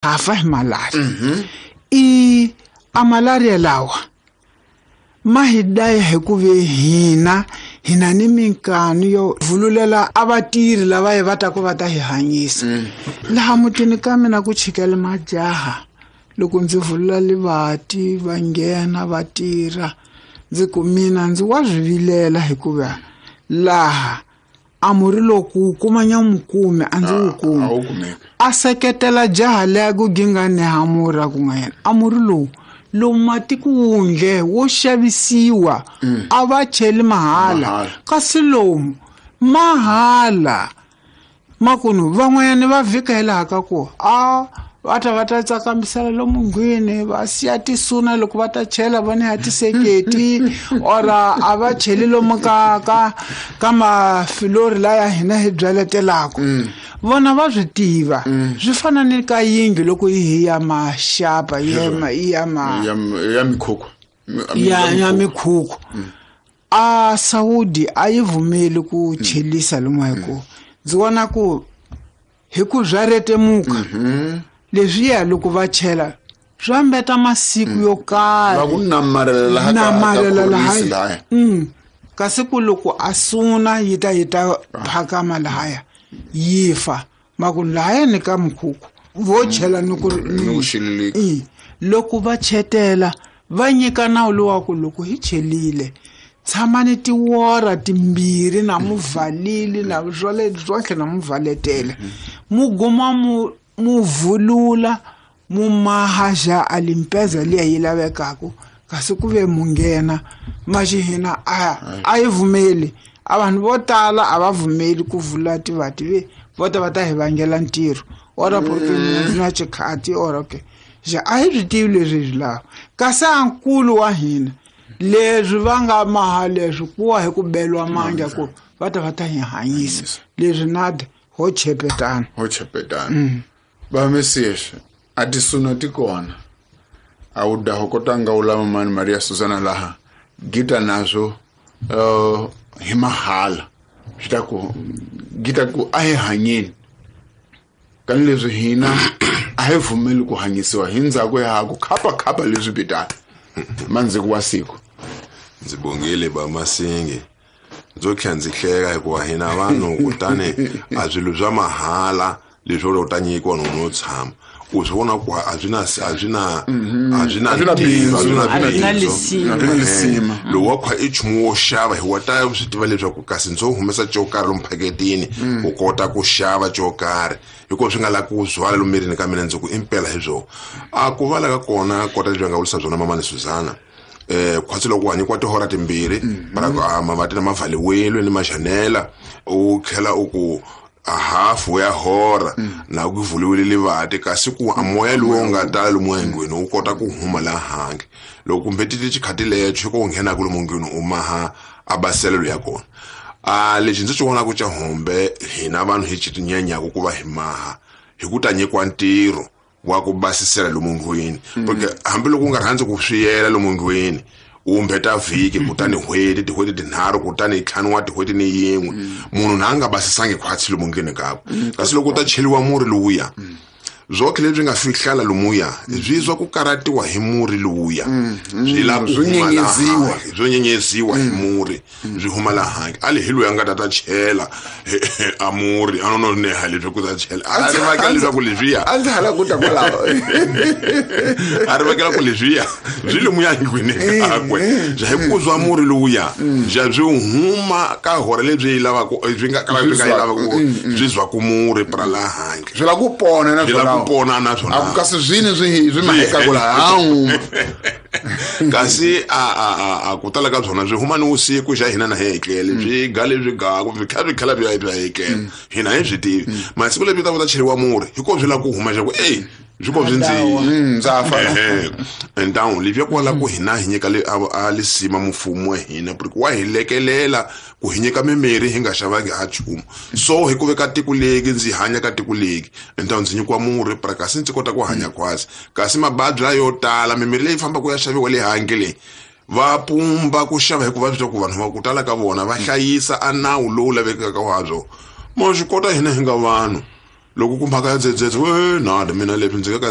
Ha fa hi malaria. I a malaria lawa ma hi daya hi ku ve hina hina ni minkanu yo vululela a vatirhi lava hi va taku va ta hi hanyisa. Laha mutini ka mina ku chikela majaha, loko ndzi vulula livati va nghena va tirha, ndzi ku mina ndzi wa swi vilela hikuva laha a murhi loko wu kuma nyamukume a ndzi wu kumi. A wu kumeki. A seketela jaha leya ku gingane ha murhi a ku nga yena a murhi lowu lomu matiko wundle wo xavisiwa a va cheli mahala, Mahala. Kasi lomu mahala makunu van'wanyana va vhika hi laha ka ku a va ta va ta tsakamisela lomu ndlwini, va siya tisuna loko va ta chela va ni ya tiseketi or a va cheli lomu ka mafilori laya hina hi byaletelaka. Vona va swi tiva. Swi fana ni ka yindlu loko yi hi ya maxapa, yi ya ma, yi ya ma, Ya ya mikhukhu. Ya, ya mikhukhu. A Saudi a yi vumeli ku chelisa lomu hi ku ndzi vona ku hi ku bya retemuka. Leswiya loko va chela swa mbeta masiku yo karhi. Va ku namarela laha ka Namarela laha. khorwisi lahaya. Kasi ku loko a suna yi ta yi ta phakama lahaya yi fa. Maku lahaya ni ka mukhukhu vo chela ni ku Ni ku xililika. Loko va chetela va nyika nawu lowu wa ku loko hi chelile tshamani tiwora timbirhi na muvalili na swale swotlhe na muvaletela. Mu guma mu vulula mu maha ja a limpeza liya yi lavekaka, kasi ku ve mu nghena maxi hina a yi vumeli. A vanhu vo tala a va vumeli ku vula tivati ve vo ta va ta hi vangela ntirho ora porque ndzi na xikhati ora okay. Ja a hi swi tivi leswi hi swi lavaka. Kasi a nkulu wa hina leswi va nga maha leswi ku wa hi ku beliwa mandla ku va ta va ta hi hanyisa. Leswi nada ho chepetana. Ho chepetana. Va Mesias a tisuna ti kona. A wu da ho kota nga wu lava mani Maria Susana laha gita nazwo hi mahala. Swi ta ku gita ku a hi hanyeni. Kani leswi hina a hi vumeli ku hanyisiwa hi ndzhaku ya ku khapa khapa leswi pitana. Mandziko wa siku. Ndzi bongile ba Masingi. Ndzo tlhela ndzi hleka hikuva hina vanhu kutani a swilo swa mahala leswi u ta nyikiwa no no tshama. U swi vona ku a swi na, a swi na, a swi na A swi na ntirho, a swi na bindzu, A swi na bindzu. lisima. A swi na lisima. Lowu wa khwa i nchumu wo xava hi wa ta swi tiva leswaku kasi ndzo humesa xo karhi lomu phaketini u kota ku xava xo karhi hikuva swi nga lavi ku zwala lomu mirini ka mina ndzi ku impela hi byona. A ku vala ka kona kota lebyi nga vurisa byona mamani Suzana. Khwatsi loko u hanyikiwa tihora timbirhi, para ku, a, mavati na mavhaliwile ni maxanela, u tlhela u ku a hafu ya hora na ku vuliwile livati, kasi ku a moya lowu wu nga tala lomu endlwini wu kota ku huma laha handle. Loko kumbe ti xikhati lexo ku nghenaka lomu ndlwini u maha a baselelo ya kona. A lexi ndzi xi vonaka xa hombe hina vanhu hi xi tinyanyaku ku va hi maha hi ku ta nyikiwa ntirho wa ku basisela lomu ndlwini. Porque hambiloko u nga rhandzi ku swiyela lomu ndlwini, u mbeta vhiki kutani n'hweti, tin'hweti tinharhu, kutani ntlhanu wa tin'hweti ni yin'we. Munhu na a nga basisangi khwatsi lomu ndlwini kakwe. Kasi loko u ta cheliwa murhi lowuya, zwotlhe leswi nga fihlala lomuya, swi zwa ku karatiwa hi murhi lowuya. Swi lava ku Swi huma laha nyenyeziwa. handle, swo nyenyeziwa hi murhi, swi huma laha handle. A li hi loyi a nga ta ta chela a murhi, a no no neha leswi ku ta chela. A ri vekela leswaku leswiya. A ndzi hala ku ta kwalaho. A ri vekela ku leswiya, swi lomuya ndlwini kakwe. Bya hi ku zwa murhi lowuya, bya byi huma ka hora lebyi yi lavaka, byi nga ka byi nga yi lavaka ku byi zwa ku murhi pra laha handle. Swi lava ku pona na Swi lava ku swona. pona na swona. A ku kasi swini swi maheka ku laha, hawu. Kasi a ku tala ka byona swi huma ni vusiku xa hina na hi etlele, swi ga leswi gaku, swi tlhela swi tlhela swi ya swi ya etlela. Hina hi swi tivi. Masiku lebyi ta ku ta cheriwa murhi, hi ko swi lava ku huma xa ku, ey, swi ko swi ndzi Ndza fa. Ehe. Ntawu lebyi ya kwala ku hina hi nyika le, a lisima mfumo wa hina, porque wa hi lekelela ku hi nyika mimirhi hi nga xavangi ha nchumu. So hi ku veka tiko leki, ndzi hanya ka tiko leki, ntawu ndzi nyikiwa murhi pra kasi ndzi kota ku hanya khwatsi. Kasi mababyi layo yo tala, mimirhi leyi fambaka ya xaviwa le handle leyi, va pumba ku xava hikuva swi twa ku vanhu va ku tala ka vona va hlayisa a nawu lowu lavekaka wa byo. Mo swi kota hina hi nga vanhu. Loko ku mhaka ya dzedzedze, we, nada, mina leswi ndzi nga ka